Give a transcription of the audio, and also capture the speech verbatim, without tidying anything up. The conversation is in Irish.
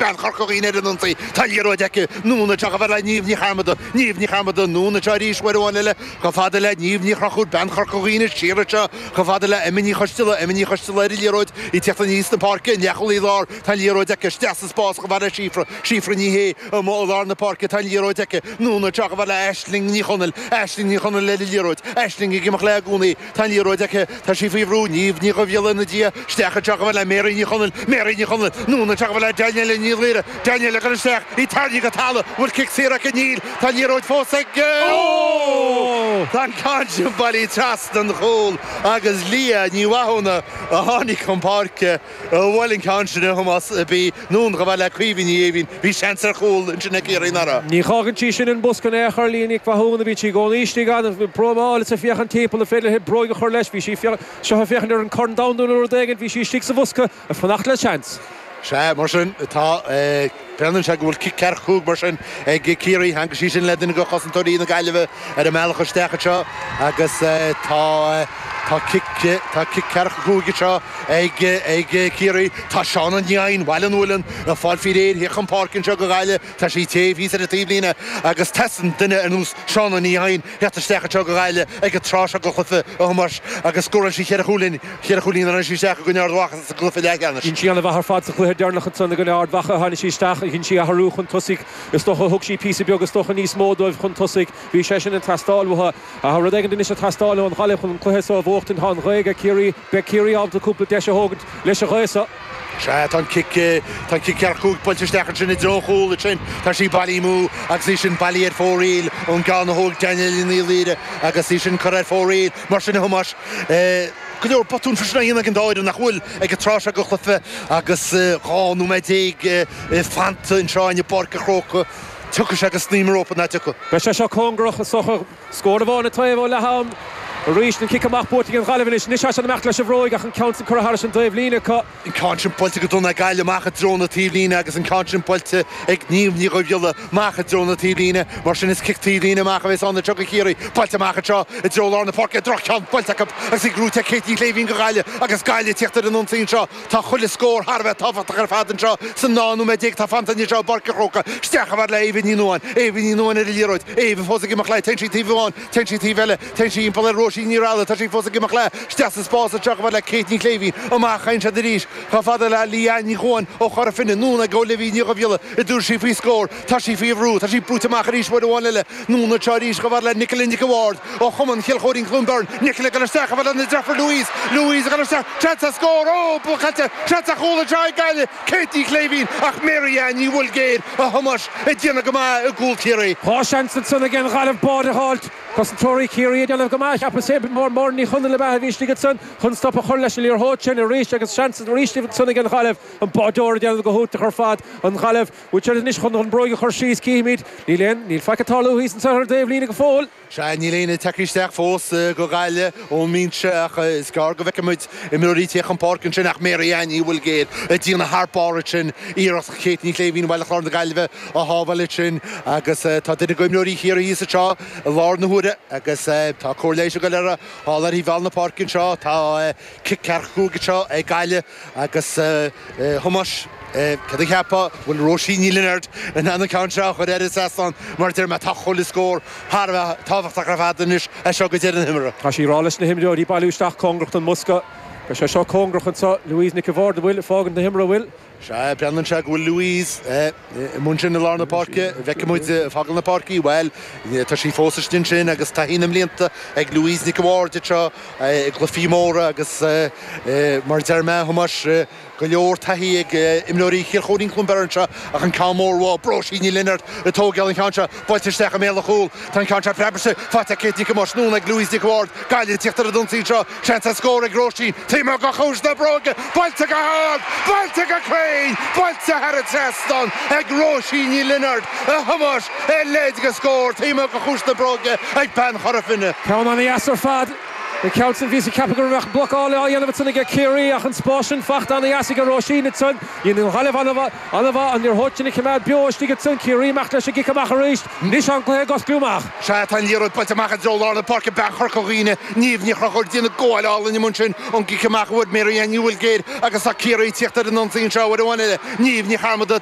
Bean Chorca Dhuibhne ar an ionsaí. Tá an liathróid aici. Anonn anseo chomh fada le Niamh Ní Chearmada. Niamh Ní Chearmada anonn anseo arís uair amháin eile chomh fada le Niamh Ní Chonchúir. Bean Chorca Dhuibhne siar anseo chomh fada le Emma Ní Choisteala. Emma Ní Choisteala ar an liathróid í ag teacht aníos na páirce. An leathchúlaí láir. Tá an liathróid aici. Isteach sa spás chomh fada le Síofra. Síofra Ní Shé amuigh i lár na páirce. Tá an liathróid aici. Anonn anseo chomh fada le Aisling Ní Chonaill. Aisling Ní Chonaill ar an liathróid. Aisling ag imeacht léi i gcónaí. Tá an liathróid aici. Tá sí faoi bhrú. Niamh Ní Dhubhghiolla ina diaidh. Isteach anseo chomh fada le Mary Ní Chonaill. Mary Ní Chonaill. Anonn anseo chomh fada le Danielle Ní Laoire. Danielle ag dul isteach. Í tarraingthe go talamh. Bhfuil cic saor aici? Níl. Tá an liathróid fós ag. Ó! Tá an ceann sin bailithe trasna an chúl agus Leah Ní Mhathúna a tháinig chun páirce a bhuail an ceann sin a Thomáis a bhí anonn chomh fada le Caoimhe Ní Éimhín. Bhí seans ar chúl ansin ag Ciarraí nach raibh? Ní fhágann sí sin an bosca in aon chor Leah Nic Mhathúna. Bhí sí i gcónaí istigh ann. Próimeáil is ag féachaint timpeall an féidir léi bróig a chur leis. Bhí sí seo ag féachaint ar an Corn Domhanda nó rud éigin. Bhí sí istigh sa bhosca ag fanacht le seans. Sea, mar sin, tá, breathnaíonn sé go bhfuil cic ceathracha cúig mar sin ag Ciarraí. Theangaigh sí sin le duine de chosantóirí na Gaillimhe ar an mbealach isteach anseo agus tá, tá cic, tá cic ceathracha cúig anseo ag, ag Ciarraí. Tá Shauna Ní Eidhin, Bhaile an Mhuilinn, ag fáil faoi réir theacht chun páirce anseo do Ghaillimh. Tá sí taobh thíos ar an taobhlíne agus teastaíonn duine ar nós Shauna Ní Eidhin theacht isteach anseo do Ghaillimh ag an tráth seo den chluiche, a Thomáis, agus scóráil sí cheithre chúilín, cheithre chúilín a rinne sí isteach i gcoinne Ard Mhacha sa gcluiche leathcheannais. Dhein sí an-mhaith ar fad sa chluiche deireanach ansan i gcoinne Ard Mhacha. Tháinig sí isteach, dhein sí athrú chun tosaigh, is dócha. Thug sí píosa beag, is dócha, níos mó dóibh chun tosaigh. Bhí sé sin ag teastáil uathu. Ach rud éigin anois ag teastáil ón Ghaillimh chun an cluiche so a bhuachtaint. Tá an ghaoth ag Ciarraí. Beidh Ciarraí ábalta cúpla deis a thógaint leis an ghaoth so. Sea, tá an cic, tá an cic ceathracha cúig buailte isteach ansin i dtreo an chúil ansin. Tá sí bailithe amú agus í sin bailithe ar fóraoil ón gceann a thóg Danielle Ní Laoire agus í sin curtha ar fóraoil. Mar sin, a Thomáis, go leor botún freisin á dhéanamh ag an dá fhoireann nach bhfuil ag an tráth seo den chluiche agus dhá nóiméad déag fanta anseo i bPáirc an Chrócaigh. Tiocfaidh sé go snaidhm an rópa, nach dtiocfaidh? Beidh sé seo cóngarach, is dócha. Scór amháin an taobh ó leath-am. Arís an cic amach buaite ag an Ghaillimh anois. Anois tá siad ag imeacht leis an bhróig ach an ceann sin curtha thairis an dtaobhlíne acu. An ceann sin buailte go dona ag Gaillimh amach i dtreo na taobhlíne agus an ceann sin buailte ag Niamh Ní Dhubhghiolla amach i dtreo na taobhlíne. Mar sin is cic taobhlíne amach a bheas ann anseo do Chiarraí. Buailte amach anseo i dtreo lár na páirce. Droch-cheann buailte acu agus í gnóite ag Kate Ní Shléibhín do Ghaillimh agus Gaillimh ag tíocht ar an ionsaí anseo. Tá chuile scór thar a bheith tábhachtach ar fad anseo san dá nóiméad déag atá fanta anseo i bPáirc an Chrócaigh. Isteach chomh fada le Éabha Ní Nuadháin. Éabha Ní Nuadháin ar an liathróid. Éabha fós ag imeacht léi. Téann sí taobh amháin. Téann sí taobh eile. Téann sí thimpeall ar Róisín Ní Raghallaigh. Tá sí fós ag imeacht léi. Isteach sa spás anseo chomh fada le Kate Ní Shléibhín. Amach a théann siad arís chomh fada le Leanne Ní Chuain ó Chora Finne. Anonn ag Olivia Ní Dhubhghiolla a dtabharfaidh sí faoi scór. Tá sí faoi bhrú. Tá sí brúite amach arís uair amháin eile. Anonn anseo arís chomh fada le Nicola Nic an Bhaird ó Chumann Chill Chóirín Cluain Bheirn. Nicola ag dul isteach chomh fada lena deirfiúr Louise. Louise ag dul isteach. Seans ar scór! Ó! Caillte! Seans ar chúl anseo ag Gaillimh! Kate Ní Shléibhín ach Mary Ann Ní Bhuilgéir, a Thomáis, ag déanamh go maith i gcúl Chiarraí. Dhá sheans ansan ag an Ghaillimh báide a dh'fháilt. Cosantóirí Chiarraí ag déanamh go maith, cheapas féin. Máire Ní Chonaill ab ea a bhí istigh ansan chun stop a chur leis an liathróid sin arís agus seans arís ansan ag an Ghaillimh an báideoir ag déanamh go hiontach ar fad. An Ghaillimh, bhfuil siad anois chun an bróig a chur síos? Cífimid. Níl aon, níl faic ag tarlú thíos ansan ar an dtaobhlíne go fóill. Sea, níl éinne tagtha isteach fós go Gaillimh ón mbinse ach is gearr go bhfeicfidh muid imreoirí ag tíocht chun páirce ansin ach Mary Ann Ní Bhuilgéir ag déanamh thar barr ansin, iarracht Kate Ní Shléibhín Bhaile Chláir na Gaillimhe a shábháil ansin agus tá duine d'imreoirí Chiarraí thíos anseo i láthair na huaire agus tá cóir leighis ag dul air thall ar thaobh bhall na páirce anseo. Tá cic ceathracha cúig anseo ag Gaillimh agus Thomáis, céard a cheapfá, bhfuil Róisín Ní Lionáird in ann an ceann seo a chur thar an trasnán mar a deir mé tá chuile scór thar a bheith tábhachtach ar fad anois as seo go deireadh na himeartha. Tá sí ag rá leis na himreoirí bailiú isteach cóngarach don mbosca. Beidh sé seo cóngarach anseo. Louise Nic an Bhaird an bhfuil ag fágaint na himeartha, an bhfuil? Sea, breathnaíonn sé go bhfuil Louise i mbun sin i lár na páirce. An bhfeicfidh muid ag fágáil na páirce í? Bhuel, tá sí fós istigh ansin agus taithí na mblianta ag Louise Nic an Bhaird anseo i gcluichí móra agus mar a deir mé, a Thomáis, Go leor taithí ag imreoirí Chill Chóirín Cluain Bheirn anseo ach an ceann mór uathu, Róisín Ní Lionáird ag tógáil an cheann seo, buailte isteach i mbéal an chúil. Tá an ceann seo preabtha faighte ag Kate Nic Thomáis, anonn ag Louise Nic an Bhaird, Gaillimh ag tíocht ar an ionsaí anseo, seans ar scór ag Róisín, taobh amuigh de chuas na bróige, buailte go hard, buailte go cruinn, buailte thar an trasnán ag Róisín Ní Lionáird, a Thomáis, a leithéid de scór taobh amuigh de chuas na bróige ag bean Chora Finne. Ceann an-dheas ar fad. An ceann sin, bhíos ag ceapadh go mbeadh blocáil á dhéanamh ansan aige Ciarraí ach an spás sin fachta ana-dheas aige Róisín ansan. Dhein an Ghaillimh an-mhaith an liathróid sin a choimeád beo istigh ansan. Ciarraí amach leis an gcic amach arís. Anois tá an cluiche ag osclú amach. Sea, tá an liathróid buailte amach i dtreo lár na páirce, bean Chorca Dhuibhne, Niamh Ní Chonchúir, ag déanamh gabháil álainn amuigh ansin ón gcic amach a fuair Mary Ann Ní Bhuilgéir agus tá Ciarraí ag tíocht ar an ionsaí anseo uair amháin eile. Niamh Ní Chearmada.